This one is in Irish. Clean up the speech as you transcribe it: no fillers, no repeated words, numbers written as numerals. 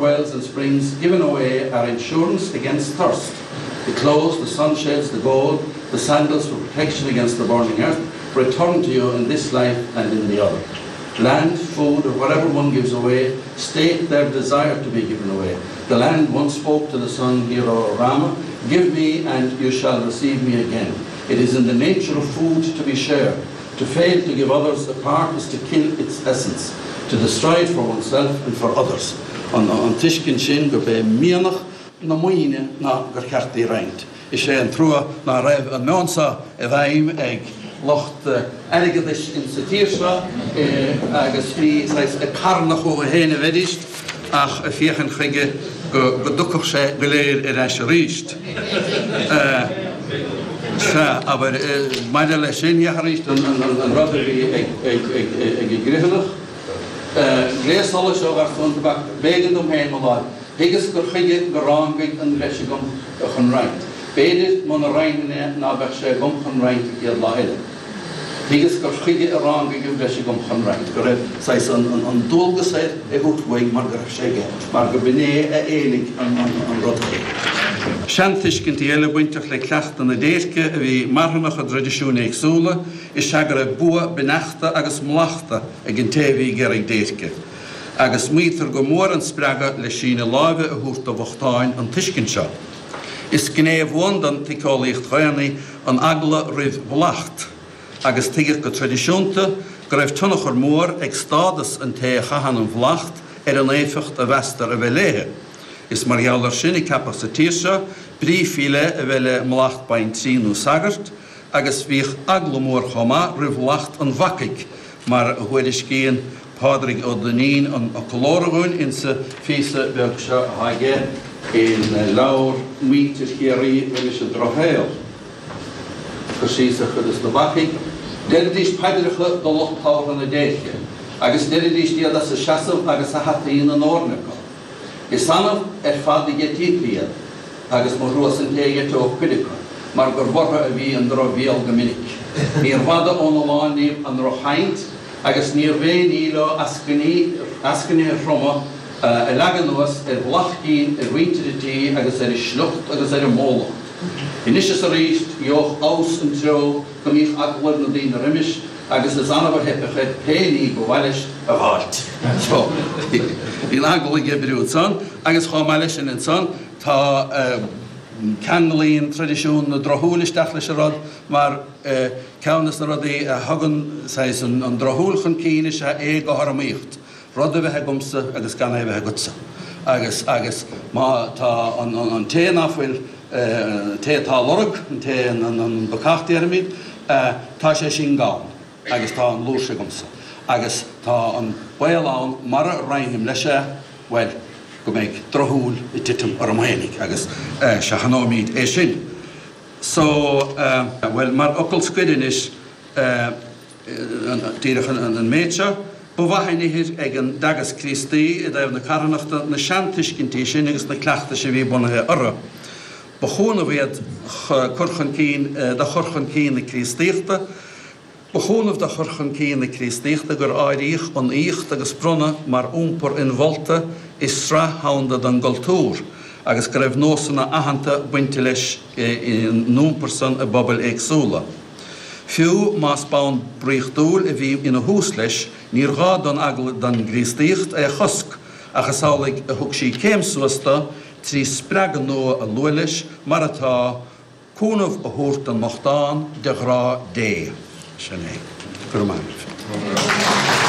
Wells and springs given away are insurance against thirst. The clothes, the sunshades, the gold, the sandals for protection against the burning earth return to you in this life and in the other. Land, food, or whatever one gives away, state their desire to be given away. The land once spoke to the sun hero Rama, Give me and you shall receive me again. It is in the nature of food to be shared. To fail to give others a part is to kill its essence, to destroy it for oneself and for others. An tuiscint sin gurb é mianach na maoine ná gur cheart í a roinnt. Is é an trua ná raibh an meon seo i bhfeidhm ag lucht airgeadais insa tír seo agus ní saghas ag carnadh chucu féin a bheidís ach ag féachaint chuige go dtiocfadh sé go léir ar ais aríst. Sea, abair, maidir leis sin, féach arís an rud a bhí ag an gCriomhthanach. Gléas solais ó gharsún tobac, b'éigean dom féin mo láimh. Thuigeas gur chuige go rángaigh an bhreis agam chun roinnt. B'fhéidir muna roinnfinn é ná beadh sé agam chun roinnt an chéad lá eile. Thuigeas gur chuige a rángaigh an bhreis agam chun roinnt, go raibh saghas an dualgas air é thabhairt uaidh mar go raibh sé aige, mar go b'in é a éiligh an rud air. Seantuiscintí eile bainteach le cleachtadh na déirce a bhí marthanach i dtraidisiúin éagsúla is ea go raibh bua beannachta agus mallachta ag an té a bhí ag iarraidh déirce. Agus maítear gur mór an spreagadh le síneadh láimhe a thabhairt do bhochtáin an tuiscint seo. Is gné bhuan den tsíceolaíocht dhaonna an eagla roimh mhallacht, agus tuigeadh go traidisiúnta go raibh tionchar mór ag stádas an té a chaitheann an mhallacht ar an éifeacht a mheastar a bheith léi. Is mar gheall air sin a ceapadh sa tír seo brí faoi leith a bheith le mallacht baintrí nó sagairt, agus bhíodh eagla mhór chomh maith roimh mhallacht an bhacaigh, mar a thuairiscíonn Pádraig Ó Duinnín an fhoclóra dhúinn insa phíosa beag seo atá aige ina leabhar Muintir Chiarraí roimis an Drochshaol. Cur síos ar chuid de na bacaigh. Deiridís paidreacha do lucht tabhartha na déirce, agus deiridís iad as a seasamh agus a hataí ina ndorn acu. Is annamh ar fad a gheitítí iad, agus mo thrua-sa an té a gheiteodh cuid acu, mar gur bhorrtha a bhí an drochbhéal go minic. Níorbh fhada óna lán díobh an droch-chaint, agus níorbh aon ní leo eascainithe throma a leagadh anuas ar mhullach cinn ar mhuintir an tí agus ar a sliocht agus ar a mbólacht. Anois is arís, gheobhadh abhus an treo go mbíodh eagla ar na daoine roimis agus is annamh a theipeadh air pé ní ba mhaith leis a dh'fháilt. So, bhí an eagla ag oibriú ansan agus chomh maith leis sin ansan tá, ceanglaíonn traidisiún na drochshúil isteach leis an rud mar ceann des na rudaí a thugann saghas an drochshúil chun cinn is ea éagothromaíocht, rud a bheith agamsa agus gan é a bheith agatsa. Agus, agus má tá an, an té ná fuil, an té atá á lorg, an té, an, an bacach déarfaimid, tá sé sin gann agus tá an fhlúirse agamsa. Agus tá an baol ann mara roinnim leis é, bhuel, go mbeidh drochshúil ag titim orm fhéinig agus seachnóimid é sin. So, bhuel, mar fhocal scoir anois, díreach an méid seo, ba mhaith an ithir ag an dteagasc Críostaí i dtaobh na carthanachta na seantuiscintí sin agus na cleachtais a bhí bunaithe orthu. Ba chúnamh iad cur chun cinn do chur chun cinn na Críostaíochta. Ba chúnamh do chur chun cinn na Críostaíochta gur áiríodh an aíocht agus bronnadh mar iompar inmholta i sraith dhomhanda den gcultúr agus go raibh nósanna aitheanta bainte leis an iompar san i bpobail éagsúla. Fiú más bonn draíochtúil a bhí ina thús leis, níor ghá don eagla don gCríostaíocht é a chosc ach is amhlaidh a thug sí céim suas do trí spreagadh nua a lua leis, mar atá, Cúnamh a thabhairt don mbochtán de ghrá Dé. Sin é. Go raibh maith agaibh.